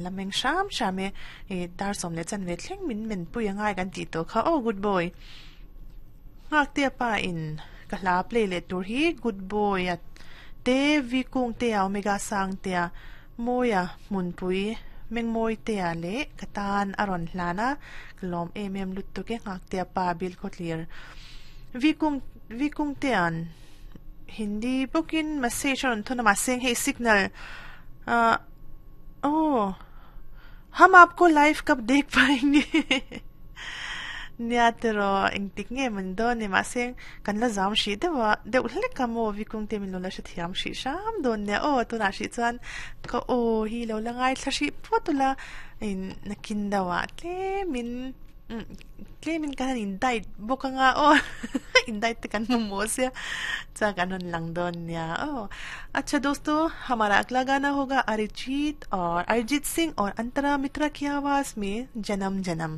La meng hram hram e, i dar sawm leh chanve thleng min men pui a ngai kan tih tawh kha aw good boy. Nghaktea pa in ka hla play leh tur hi good boy a te vi kung te a omega sang te a mawia hmunpui mengmawi te a leh ka tan a rawn hlan a ka lawm em em lutuk e nghaktea pa bil khawtlir vi kung vi kung te an hindi bawkin message a rawn thawn a mahse hei signal ah aw Hum aapko live kab dekh paenge Nia tiraw engtik nge min dawn ni mahse kan la zam hrih deuh a deuh hlek a maw Vikung te min lo la hrethiam hrih hram dawn nia aw tunah hrih chuan ka aw hi lo la ngaithla hrih phawt ula in nakin deuh ah tlemin Tlemin kan han in diet bawk anga aw in diet te kan hmu maw sia chuan kan rawn lang dawn nia aw acha dosto hamara agla gana hoga Arijit aur Arijit Singh aur Antara Mitra ki awaaz mein Janam Janam.